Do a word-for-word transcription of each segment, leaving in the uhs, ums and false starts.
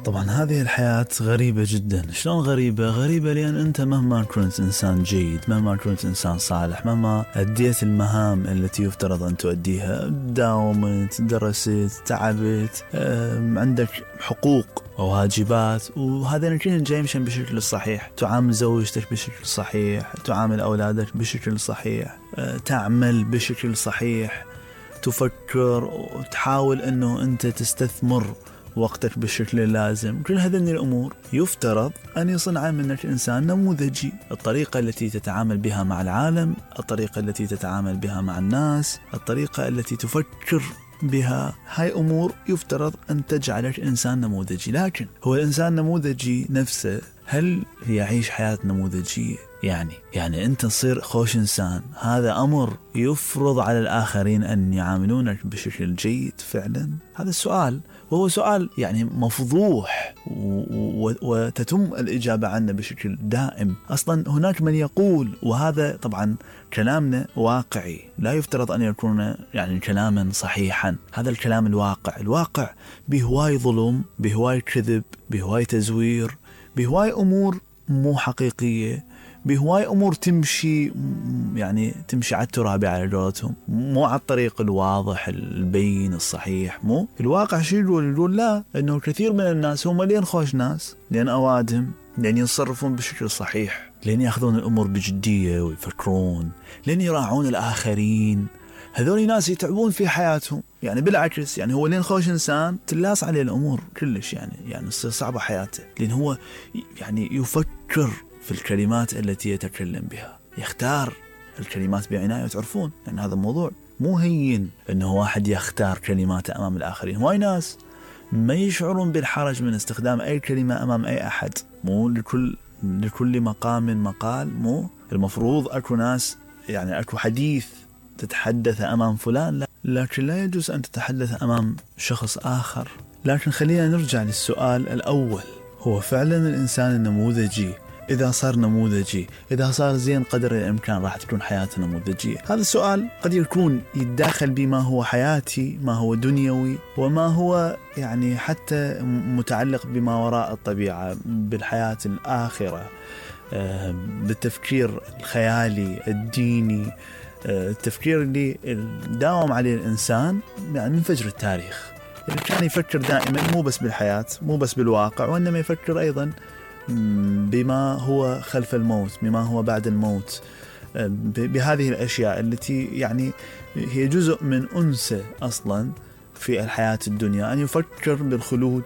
طبعا هذه الحياة غريبة جدا. شلون غريبة؟ غريبة لأن أنت مهما كنت إنسان جيد، مهما كنت إنسان صالح، مهما أديت المهام التي يفترض أن تؤديها، داومت، درست، تعبت، عندك حقوق وواجبات، وهذا كلهم جاي مشان بشكل الصحيح. تعامل زوجتك بشكل صحيح، تعامل أولادك بشكل صحيح، تعمل بشكل صحيح، تفكر وتحاول أنه أنت تستثمر وقتك بالشكل اللازم. كل هذه الأمور يفترض أن يصنع منك إنسان نموذجي. الطريقة التي تتعامل بها مع العالم، الطريقة التي تتعامل بها مع الناس، الطريقة التي تفكر بها، هاي أمور يفترض أن تجعلك إنسان نموذجي. لكن هو الإنسان النموذجي نفسه هل يعيش حياة نموذجية؟ يعني يعني أنت تصير خوش إنسان، هذا أمر يفرض على الآخرين أن يعاملونك بشكل جيد فعلا؟ هذا السؤال، وهو سؤال يعني مفضوح وتتم الإجابة عنه بشكل دائم. أصلا هناك من يقول، وهذا طبعا كلامنا واقعي، لا يفترض أن يكون يعني كلاما صحيحا، هذا الكلام الواقع. الواقع بهواي ظلم، بهواي كذب، بهواي تزوير، بهواي أمور مو حقيقية، بهواي أمور تمشي يعني تمشي على التراب على قولتهم، مو على الطريق الواضح البين الصحيح. مو الواقع شيء يقول يقول لا، إنه كثير من الناس هم لين خوش ناس، لين أوادهم، لين يتصرفون بشكل صحيح، لين يأخذون الأمور بجدية ويفكرون، لين يراعون الآخرين. هذول ناس يتعبون في حياتهم، يعني بالعكس، يعني هو لين خوش إنسان تلاص عليه الأمور كلش، يعني يعني تصير صعبة حياته، لأن هو يعني يفكر في الكلمات التي يتكلم بها، يختار الكلمات بعناية. تعرفون يعني هذا الموضوع مو هين إنه واحد يختار كلماته أمام الآخرين. هواي ناس ما يشعرون بالحرج من استخدام أي كلمة أمام أي أحد. مو لكل لكل مقام مقال، مو المفروض أكو ناس يعني أكو حديث تتحدث أمام فلان، لا. لكن لا يجوز أن تتحدث أمام شخص آخر. لكن خلينا نرجع للسؤال الأول، هو فعلا الإنسان النموذجي إذا صار نموذجي، إذا صار زين قدر الإمكان، راح تكون حياته نموذجية؟ هذا السؤال قد يكون يتداخل بما هو حياتي، ما هو دنيوي، وما هو يعني حتى متعلق بما وراء الطبيعة، بالحياة الآخرة، بالتفكير الخيالي الديني، التفكير اللي داوم عليه الإنسان يعني من فجر التاريخ، اللي كان يفكر دائما مو بس بالحياة، مو بس بالواقع، وإنما يفكر أيضا بما هو خلف الموت، بما هو بعد الموت، بهذه الأشياء التي يعني هي جزء من أنسه أصلا في الحياة الدنيا، أن يفكر بالخلود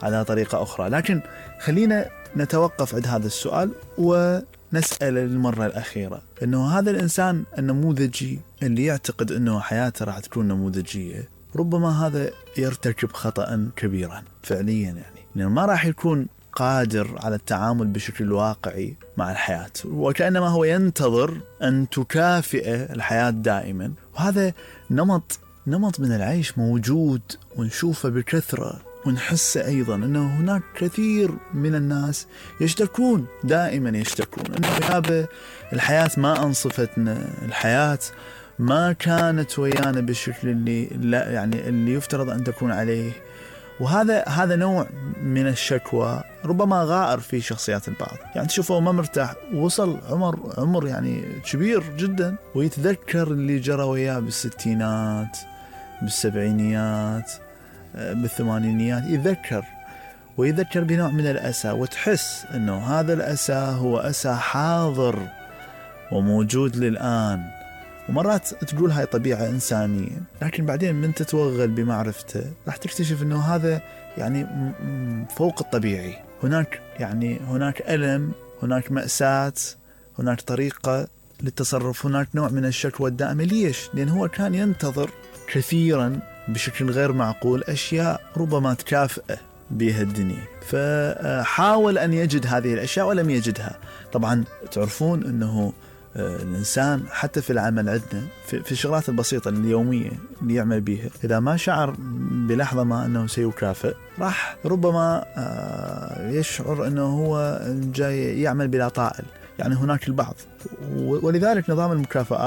على طريقة أخرى. لكن خلينا نتوقف عند هذا السؤال ونسأل للمرة الأخيرة، أنه هذا الإنسان النموذجي اللي يعتقد أنه حياته راح تكون نموذجية، ربما هذا يرتكب خطأ كبيرا فعليا، يعني لأنه ما راح يكون قادر على التعامل بشكل واقعي مع الحياة، وكأنما هو ينتظر أن تكافئه الحياة دائما. وهذا نمط نمط من العيش موجود ونشوفه بكثرة، ونحس أيضا أنه هناك كثير من الناس يشتكون، دائما يشتكون أنه يابا الحياة ما أنصفتنا، الحياة ما كانت ويانا بالشكل اللي لا يعني اللي يفترض أن تكون عليه. وهذا هذا نوع من الشكوى ربما غائر في شخصيات البعض، يعني تشوفه ما مرتاح، وصل عمر عمر يعني كبير جدا ويتذكر اللي جرى وياه بالستينات، بالسبعينيات، بالثمانينيات، يتذكر ويذكر بنوع من الأسى، وتحس أنه هذا الأسى هو أسى حاضر وموجود للآن. ومرات تقول هاي طبيعة إنسانية، لكن بعدين من تتوغل بمعرفته راح تكتشف أنه هذا يعني فوق الطبيعي. هناك يعني هناك ألم، هناك مأساة، هناك طريقة للتصرف، هناك نوع من الشكوى الدائمة. ليش؟ لأن هو كان ينتظر كثيرا بشكل غير معقول أشياء ربما تكافئه بها الدنيا، فحاول أن يجد هذه الأشياء ولم يجدها. طبعا تعرفون أنه الإنسان حتى في العمل عندنا في الشغلات البسيطة اليومية اللي يعمل بيها، إذا ما شعر بلحظة ما أنه سيكافئ، راح ربما يشعر أنه هو جاي يعمل بلا طائل. يعني هناك البعض، ولذلك نظام المكافآت